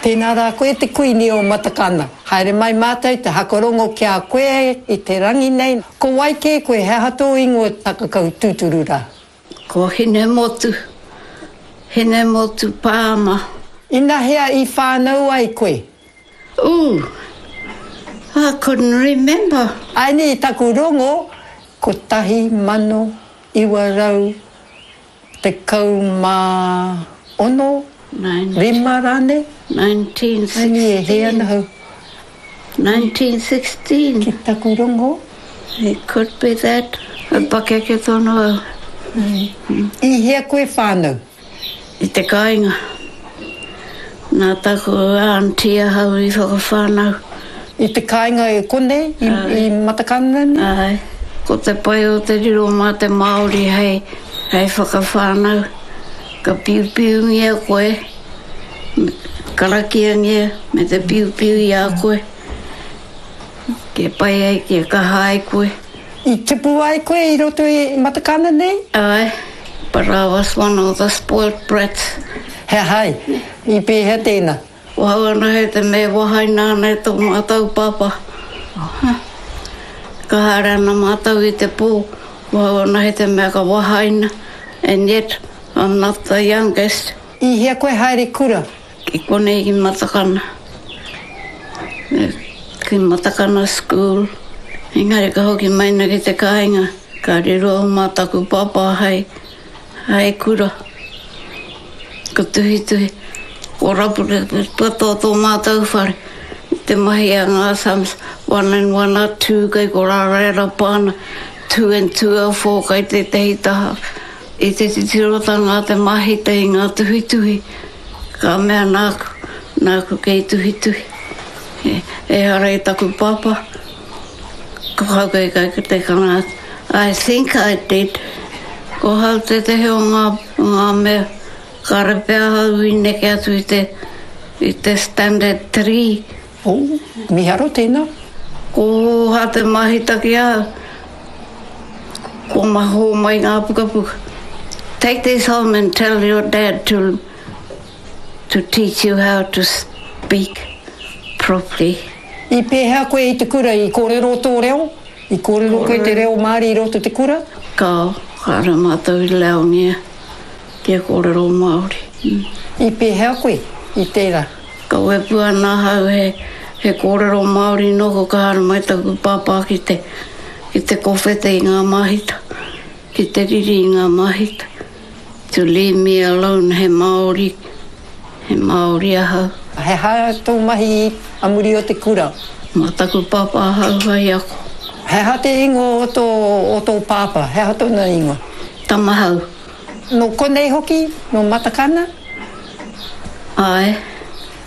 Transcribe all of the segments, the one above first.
Tēnā rā koe te Kuini o Matakana. Haere mai mātou te hakarongo ki a koe i te rangi nei. Ko wai kē koe, he aha tō ingoa takakau tūturu rā? Ko Hinemotu, Hinemotu Palmer. Inahea i whānau ai koe? Ooh, I couldn't remember. Aini taku rongo, 1900. 16, rima rānei? 1916. E hē ana au. 1916. Ki taku rongo. It could be that. E pakeke tonu au. I hea koe whānau? I te kāinga. Nā taku aunty ahau i whakawhānau. I te kāinga e konei, i Matakana nei? Āe. Ko te pai o te riro mā te Māori hei, hei whakawhānau. Ka piupiungia koe, karakiangia me te piupiu i a koe. Kia pai ai, kia kaha ai koe. I tupu ai koe i roto i Matakana nei? Āe, but I was one of the spoilt brats. He aha ai? I pēhea tēnā? Ko hau anahe te mea e wahaina ana e tō mātou pāpā. Ka haere ana mātou i te pō, ko hau anahe te mea ka wahaina, and yet I'm not the youngest. I hea koe haere kura? Ki konei ki Matakana. Ki Matakana School. Engari ka hoki mai na ki te kāinga, ka riro mā taku pāpā hei, hei kura. Ka tuhituhi, ko rapu katoa tō mātou whare. Te mahi a ngā sums, one and one are two kei ko rā rerapa ana, two and two are four kei tētehi taha. I te titirotanga a te mahita i ngā tuhituhi, ka mea nāku, nāku kei tuhituhi. Ehara i taku pāpā, ko hau kei kai te kanga atu. I think I did. Ko hau tētehi o ngā, o ngā mea, kāre pea ahau i neke atu i te, i te standard 3. Oh, miharo tēnā. Ko hōhā te mahita ki ahau. Ko maho mai ngā pukapuka. Take this home and tell your dad to to teach you how to speak properly. I pēhea koe i te kura? I kōrero tō reo? I kōrero koe te reo Māori i roto te kura? Kāo, kāre mātou i leongia kia kōrero Māori. I pēhea koe i tērā? Ka wepu ana ahau he, he kōrero Māori nōku ka haere mai taku pāpā ki te, ki te kowhete i ngā māhita, ki te riri i ngā māhita. To leave me alone, he Māori, he Māori ahau. He aha tō mahi a muri o te kura? Mā taku pāpā ahau hei ako. He aha te ingoa o tō, o tō pāpā? He aha tōna ingoa? Tamahau. Nō konei hoki? Nō Matakana? Āe.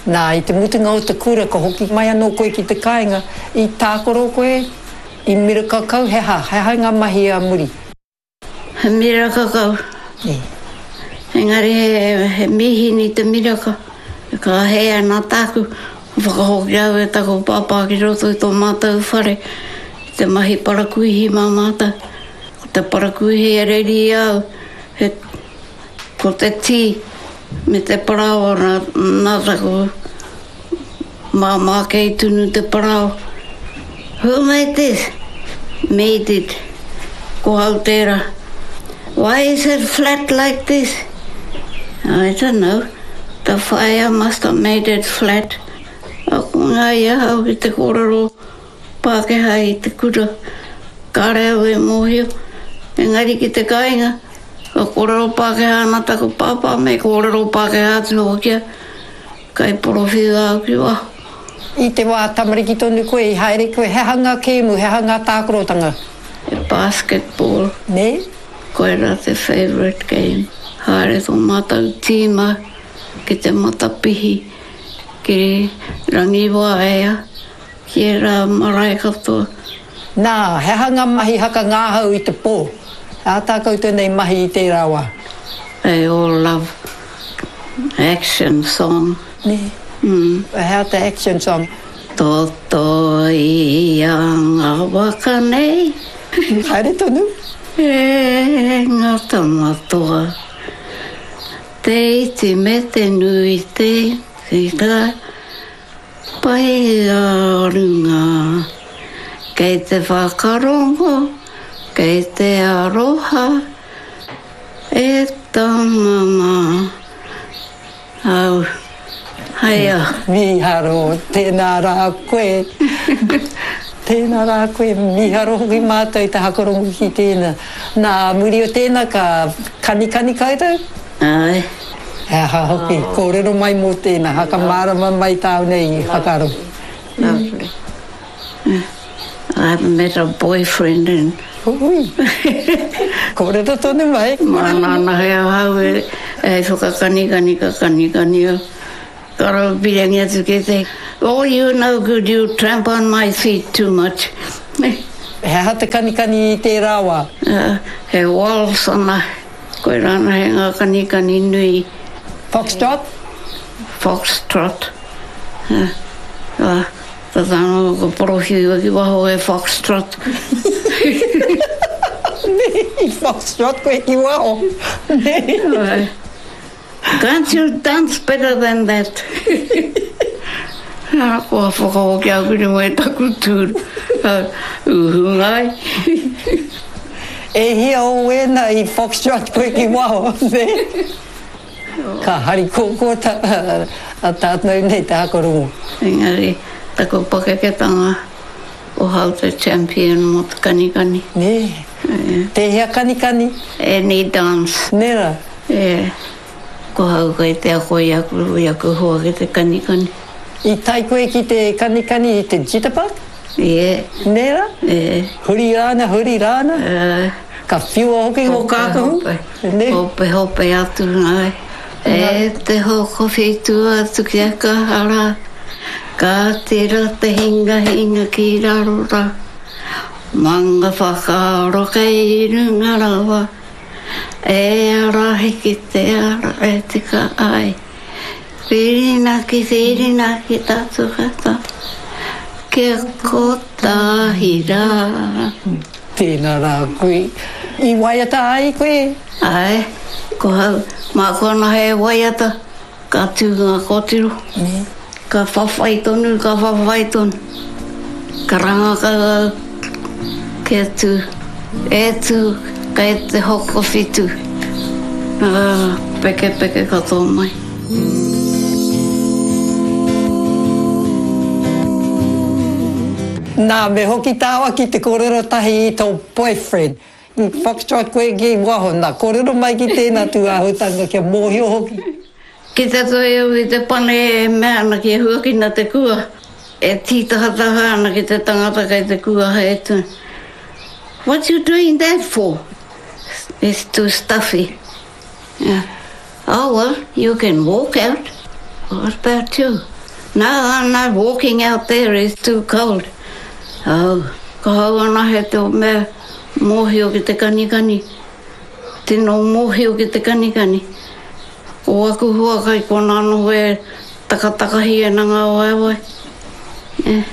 Nā, i te mutunga o te kura ka hoki mai anō koe ki te kāinga, i tākaro koe, i miraka kau, he aha, he aha ngā mahi a muri? He miraka kau. Nē. Engari he, he mīhini te miraka. Ka hē ana tāku, whakahoki au e taku pāpā ki roto i tō mātou whare, i te mahi parakuihi mā mātou. Ko te parakuihi e reri i a au, he, ko te tī me te parāoa nā, nā taku māmā kei tunu te parāoa. Who made this? Me did. Ko au tērā. Why is it flat like this? I don't know. The fire must have made it flat. Ako ngā i ahau ki te kōrero Pākehā i te kura, kāre au e mōhio. Engari ki te kāinga, ka kōrero Pākehā ana taku pāpā me kōrero Pākehā atu hoki au, kai porowhiua au ki waho. I te wā tamariki tonu koe, i haere koe, he aha ngā kēmu, he aha ngā tākorotanga? He basketball. Nē? Koirā te favourite game. Haere tō mātou tīma ki te matapihi, ki Rangiwaea. Ki ērā marae katoa. Nā, he aha ngā mahi hakangāhau i te pō? He aha tā koutou nei mahi i tērā wā? They all love action song. Nē. He aha te action song? Toto ia ngā waka nei. Haere tonu. E ngā tama toa. Te iti me te nui te ira pai a runga. Kei te whakarongo, kei te aroha e tama ma. Au, haia. Mīharo, tēnā rā koe. Tēnā rā koe, mīharo hoki mātou i te hakarongo ki tēnā. Nā muri o tēnā ka kanikani koutou? Āe. He aha hoki, kōrero mai mō tēnā, whakamārama mai tāu nei whakaaro. Lovely. I haven't met a boyfriend in. Ui! Kōrero tonu mai. Māna anahe ahau e whakakanikani ka kanikani au. Ka raupirangi atu ki te, Oh you no good, you tramp on my feet too much. He aha te kanikani i tērā wā? He waltz anahe. Koirā anahe ngā kanikani nui. Foxtrot? Foxtrot. Tata anō ka porowhiua ki waho e Foxtrot. Nē, i Foxtrot koe ki waho, nē? Āe. Can't you dance better than that? Ā, kua whakahokia au ki runga i taku tūru. Uhunga ai. E hia o wēnā i Foxtrot koe ki waho, nē? Ka harikokoa a tātou nei te hakarongo. Engari, taku pakeketanga, ko hau te champion mo te kanikani. Nē. Tēhea kanikani? Any dance. Nē rā? E. Ko hau kei te ako i aku, i aku hoa ki te kanikani. I tae koe ki te kanikani i te jitterbug? Ie. Nē rā? E. Huri rāna, huri rāna? E. Ka whiua hoki ngō kākahu? Hope, hope, hope atu ngai. E te hokowhitu atu ki a Kahara, ka tira te hingahinga ki raro ra. Manga whakaaro kei runga rawa, e arahi ki te ara e tika ai. Whirinaki, whirinaki tatu kata, kia kotahi rā. Tēnā rā koe. I waiata ai koe? Āe, ko hau, māku anahe e waiata, ka tū ngā kōtiro. Ka whawhai tonu, ka whawhai tonu. Karanga kau au, kia tū, e tū, kei te hokowhitu. Ā, pekepeke katoa mai. Nā, me hoki tāua ki te kōrero tahi i tō boyfriend. I foxtrot koe ki waho, nā, kōrero mai ki tēnā tūāhutanga kia mōhio hoki. Ki te toe au i te pane e mea ana kia huakina te kua, e tītahataha ana ki te tangata kei te kuaha e tū. What you doing that for? It's too stuffy. Yeah. Oh well, you can walk out. What about you? No, I'm not walking out there, it's too cold. Oh, ka hau anahe te mea mōhio ki te kanikani. Tino mōhio ki te kanikani. Ko aku hua kai kona noho e takatakahi ana ngā waewae. Eh.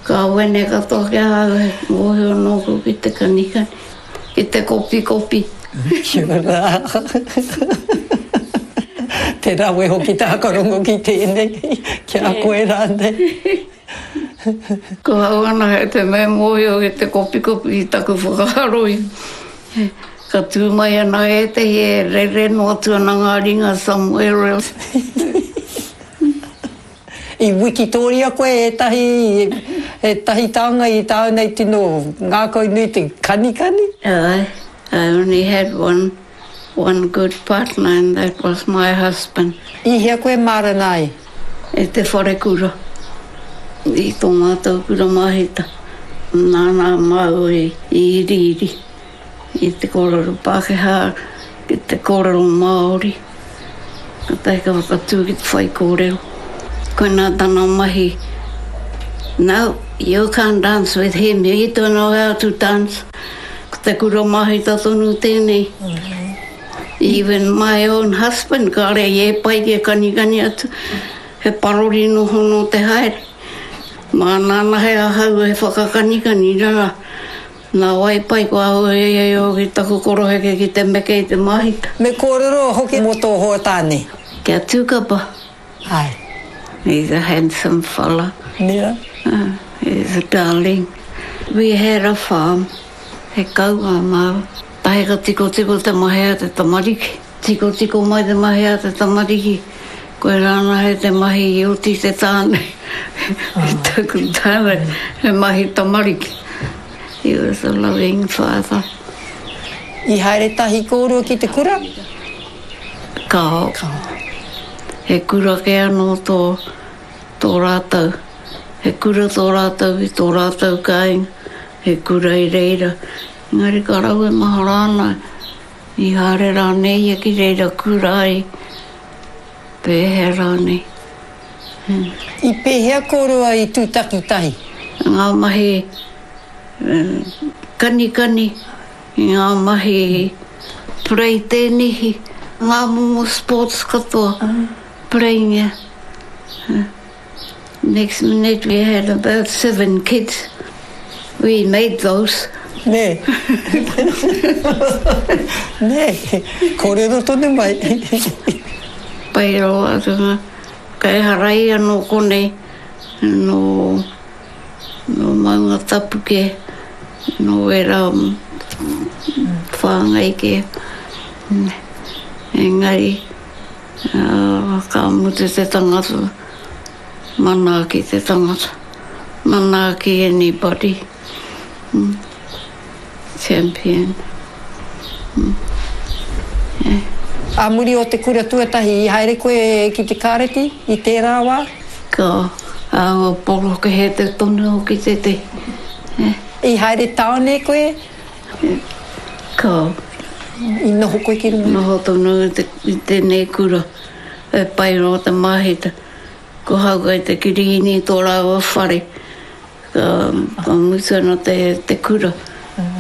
Ka wene katoa ki ahau he mōhio nōku ki te kanikani, ki te kopikopi. Kia ora. Te rawe hoki te whakarongo ki tēnei, ki a koe rānei. Ko au anahe te mea mōhio ki te kopikopi i taku whakaaro i. Ka tū mai ana ētehi e rere noa atu ana ngā ringa somewhere else. I wikitōria koe ētahi, ētahi tānga i tāu nei tino ngākau nui te kanikani? Āe, I only had one, one good partner and that was my husband. I hea koe mārena ai? I te wharekura, i tō mātou kura māhita. Nāna māua i iriiri i te kōrero Pākehā ki te kōrero Māori. Kātahi ka whakatū ki te whaikōrero. Koinā tana mahi, No, you can't dance with him, he don't know how to dance. Ko te kura māhita tonu tēnei. Even my own husband, kāre i e pai kia kanikani atu. He parori noho nō te haere. Māna anahe ahau e whakakanikani rā. Nā wai pai kua hui ai au ki taku koroheke ki te meke i te māhita. Me kōrero hoki mō tō hoa tāne. Kia tūkapa. Āe. He's a handsome fella. Yeah. He's a darling. We had a farm. He kau ā māua. Tahi ka tikotiko te mahi a te tamariki. Tikotiko mai te mahi a te tamariki. Koirā anahe te mahi i oti te tāne. I taku tāne, he mahi tamariki. He was a loving father. I haere tahi kōrua ki te kura? Kao. He kura kē anō tō, tō rātou. He kura tō rātou i tō rātou kāinga. He kura i reira. Engari ka rau e mahara ana, i haere rānei ia ki reira kura ai, pēhea rānei. I pēhea kōrua i tūtaki tahi? Ngā mahi kanikani, i ngā mahi pereitēnihi, ngā momo sports katoa, pereingia. Next minute we had about seven kids. We made those. Nē. Nē. Kōrero tonu mai. Pai rawa atu ngā kaihara ia nō konei, nō, nō Maungatapu kē, nō ērā whāngai kē. Engari, Ka mutu te tangata, manaaki te tangata, manaaki anybody, champion. Ā muri o te kura tuatahi i haere koe ki te kāreti i tērā wā? Ka āhua porokehe te tonu hoki tētehi. I haere tāone koe? Ka. I noho koe ki runga? Noho tonu i tēnei kura. E pai rawa te māhita. Ko hau kai te kirihini tō rāua whare. Ka mutu ana te kura.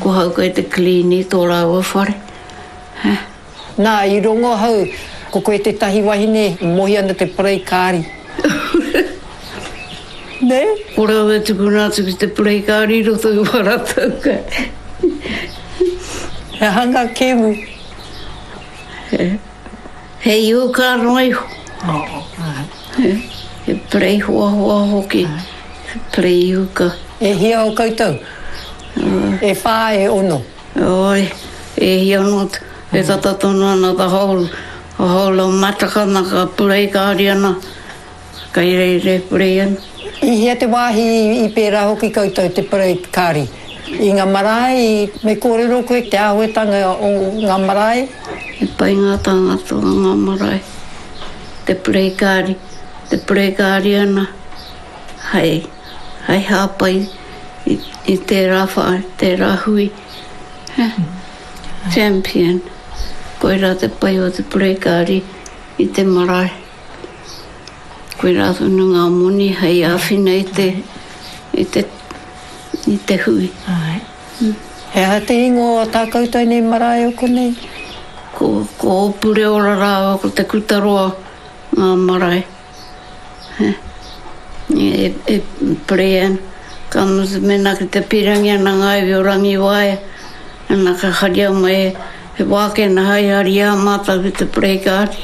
Ko hau kai te kirihini tō rāua whare. Nā, i rongo ahau, ko koe tētahi wahine e mohi ana te parei kāri. Nē? Ko rāua e tukuna atu ki te parei kāri i roto i wā rātou kai. He aha ngā kēmu? He iuka noa iho. He parei hoahoa hoki. He parei iuka. E hia o koutou? E whā, e ono. Oi, e hia noa atu, e tata tonu ana the whole, the whole of Matakana ka purei kāri ana, kei reira e purei ana. I hea te wāhi i pērā hoki koutou te purei kāri? I ngā marae, me kōrero koe te āhuatanga o ngā marae? He pai ngā tāngata o ngā marae, te purei kāri, te purei kāri ana, hei, hei hāpai i tērā whare, tērā hui. Champion. Koirā te pai o te purei-kāri i te marae. Koirā tonu ngā moni hei āwhina i te, i te, i te hui. He aha te ingoa o tā koutou nei marae o konei? Ko, ko Ōpureora rāua ko Te Kutaroa ngā marae. E pare ana. Ka mutu mēnā ki te pīrangi ana ngā iwi o Rangiwaea, ana ka haria mai he wākena hai hari i a mātou ki te parei kāri.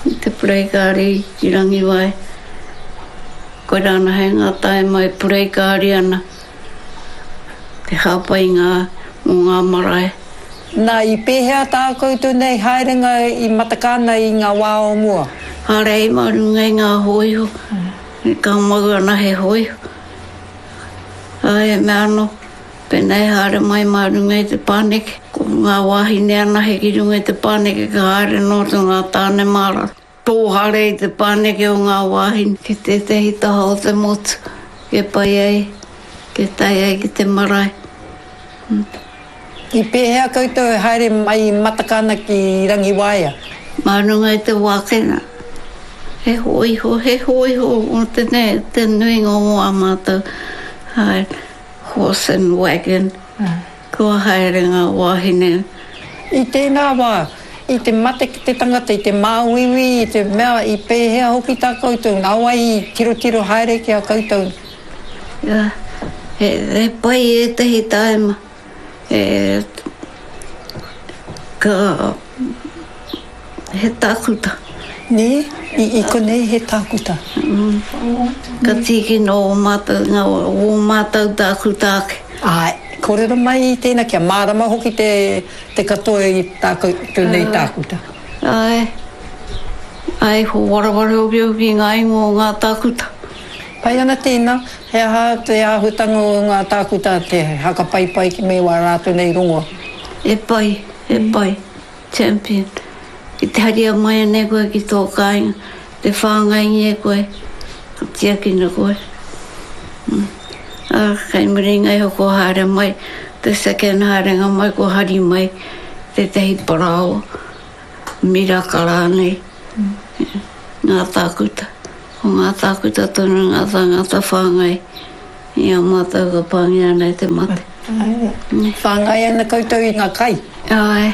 Ki te parei kāri ki Rangiwaea. Koirā ana hei ngā taima e parei kāri ana te hāpai ngā mō ngā marae. Nā, i pēhea tā koutou nei haerenga i Matakana i ngā wā o mua? Haere ai mā runga i ngā hōiho, ka mau ana he hōiho. Ā, he mea anō, pēnā e haere mai mā runga i te pāneke, ko ngā wāhine anahe ki runga i te pāneke ka haere noa atu ngā tāne mā raro. Tō haere i te pāneke o ngā wāhine ki tētehi taha o te motu, kia pai ai, kia tae ai ki te marae. I pēhea koutou e haere mai i Matakana ki Rangiwaea? Mā runga i te wākena, he hōiho, he hōiho o te, te nuinga o ā mātou haere, horse and wagon, kua haere ngā wāhine. I tēnā wā, i te mate ki te tangata, i te māuiui, i te mea, i pēhea hoki tā koutou, nā wai i tirotiro haere ki a koutou? Yeah. He, he pai ētahi tāima. E, ka, he tākuta. Nē, i, i konei he tākuta. Mm. Ka tīkina ō mātou, ngā, ō mātou tākuta ake. Āe, kōrero mai i tēnā kia mārama hoki te, te katoa i tā koutou nei tākuta. Āe. Āe, ko wareware hoki au ki ngā ingoa o ngā tākuta. Pai ana tēnā, he aha te āhuatanga o ngā tākuta te hakapaipai ki me wā rātou nei rongoa? E pai, e pai. Champion. Ki te haria mai ana e koe ki tō kāinga, te whāngaingia koe, ka tiakina koe. Ā, kei muri inga iho kua haere mai, te second haerenga mai kua hari mai tētehi parāoa, miraka rānei, ngā tākuta. Ko ngā tākuta tonu ngā tāngata whāngai i a mātou ka pāngia ana e te mate. Āe. Whāngai ana koutou i ngā kai? Āe.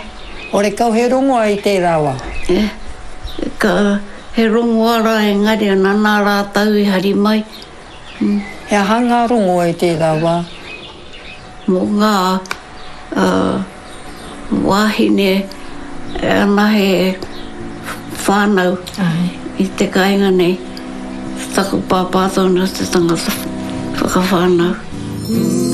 Horekau he rongoa i tērā wā? E, ka, he rongoa rā engari ana nā rātou i hari mai. He aha ngā rongoa i tērā wā? Mō ngā wāhine anahe whānau i te kāinga nei, taku pāpā tonu te tangata whakawhānau.